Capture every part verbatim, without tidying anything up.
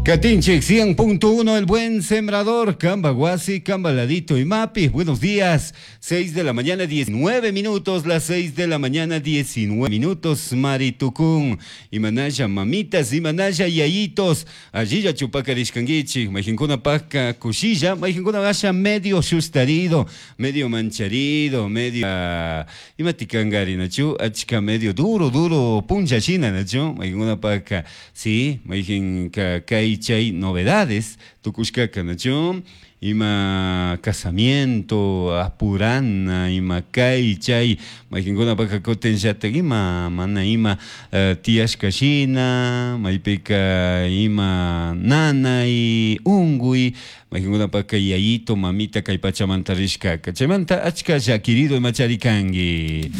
Katinchik cien punto uno, El Buen Sembrador, Camba Guasi, Camba Ladito y Mapi. Buenos días, seis de la mañana, diecinueve minutos, las seis de la mañana, diecinueve minutos, Maritucún. Imanalla mamitas, imanalla yayitos, allilla chupacarishkanguichik, mayqinkuna pakka kushilla, mayqinkuna asha medio sustarido, medio mancharido, medio uh, imatikangari, nachu, achka medio duro, duro, puncha shina, nachu, mayqinkuna pakka, sí, mayqin kay chay novedades tukushkaka, nachu, ima casamiento apurana, ima kay chay, mayqinkunapaka kutinllatak ima mana ima uh, tiyashka shina, maypika ima nanay unguy, mayqinkunapaka yayito mamita kay pachamanta rishkaka, chaymanta achka llakirido imachari kanki.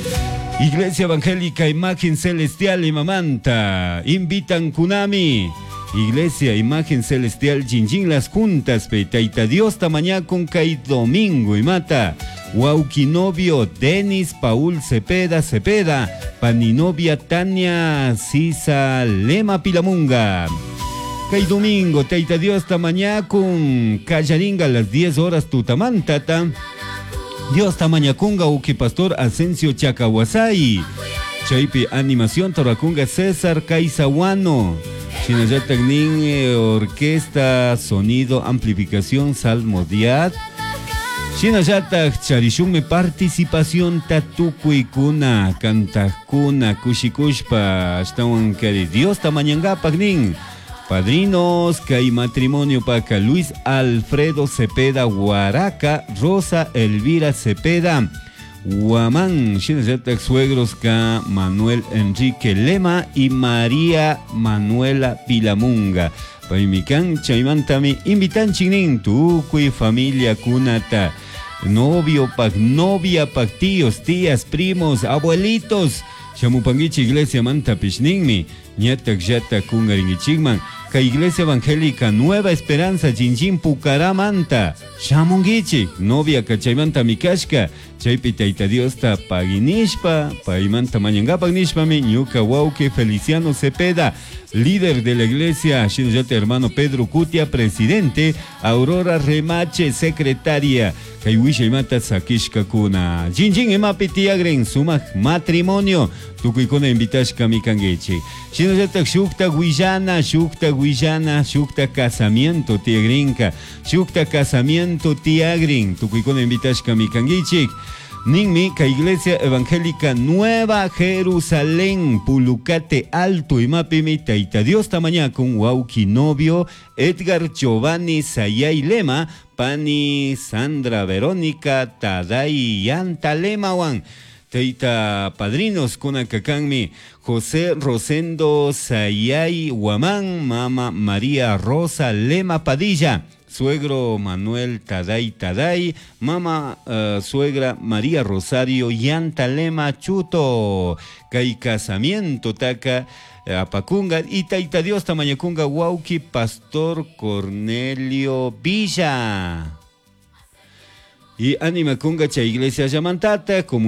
Iglesia Evangélica Imagen Celestial imamanta invitan kunami. Iglesia Imagen Celestial Chinchín Las Juntas pe Taita Dios tamañakun kay domingo imata. Waukinovio Denis Paul Cepeda Cepeda, Paninovia Tania Sisa Lema Pilamunga. Kay domingo Taita Dios tamañakun kallaringa las diez horas tutamantata. Dios tamañakunga uki pastor Asensio Chacahuasay. Chaypi animación torakunga César Caizahuano. Shinallatak nin eh, orquesta, sonido, amplificación, salmodiad. Shinallatak charishunmi participación tatukuykuna, kantakuna, kushikushpa, ashtawan kari Dios tamañangapak nin. Padrinos, kay matrimonio paka Luis Alfredo Cepeda Huaraca, Rosa Elvira Cepeda Guamán, shinallatak suegros ka Manuel Enrique Lema y María Manuela Pilamunga. Paymikan chaymantami invitanchik nin tukuy familia kunata. Novio pak, novia pak, tíos, tías, primos, abuelitos. Shamupanguichi iglesia manta ninmi. Ñatak llata kungaringichikman. Ka Iglesia Evangélica Nueva Esperanza Chinchín Pucaramanta. Shamunguichik. Novia kachaymanta mikashka. Chaypi Tayta Diosta paginishpa. Paymanta mañangapak nishpami. Ñuka wawki Feliciano Cepeda, líder de la iglesia. Shinallata hermano Pedro Cutia, presidente. Aurora Remache, secretaria. Kay wishaymata sakishkakuna. Chinchín imapi tiyagrin sumak matrimonio. Tukuykuna invitashka mikanguichik. Shinallatak shukta willana, shukta willana, shukta casamiento tiyagrinka. Shukta casamiento tiyagrin. Tukuykuna invitashka mikanguichik. Ninmi ka Iglesia Evangélica Nueva Jerusalén, Pulucate Alto, imapimi Taita Dios tamañakun wawki novio Edgar Giovanni Sayay Lema, pani Sandra Verónica Taday Yanta Lemawan. Teita padrinos kunakakanmi José Rosendo Sayay Guamán, mama María Rosa Lema Padilla, suegro Manuel Taday Taday, mama uh, suegra María Rosario Yanta Lema Chuto, kay casamiento taka apakunga y Taita Dios tamañakunga wawki Pastor Cornelio Villa. Y anima kunga cha iglesia llamantata como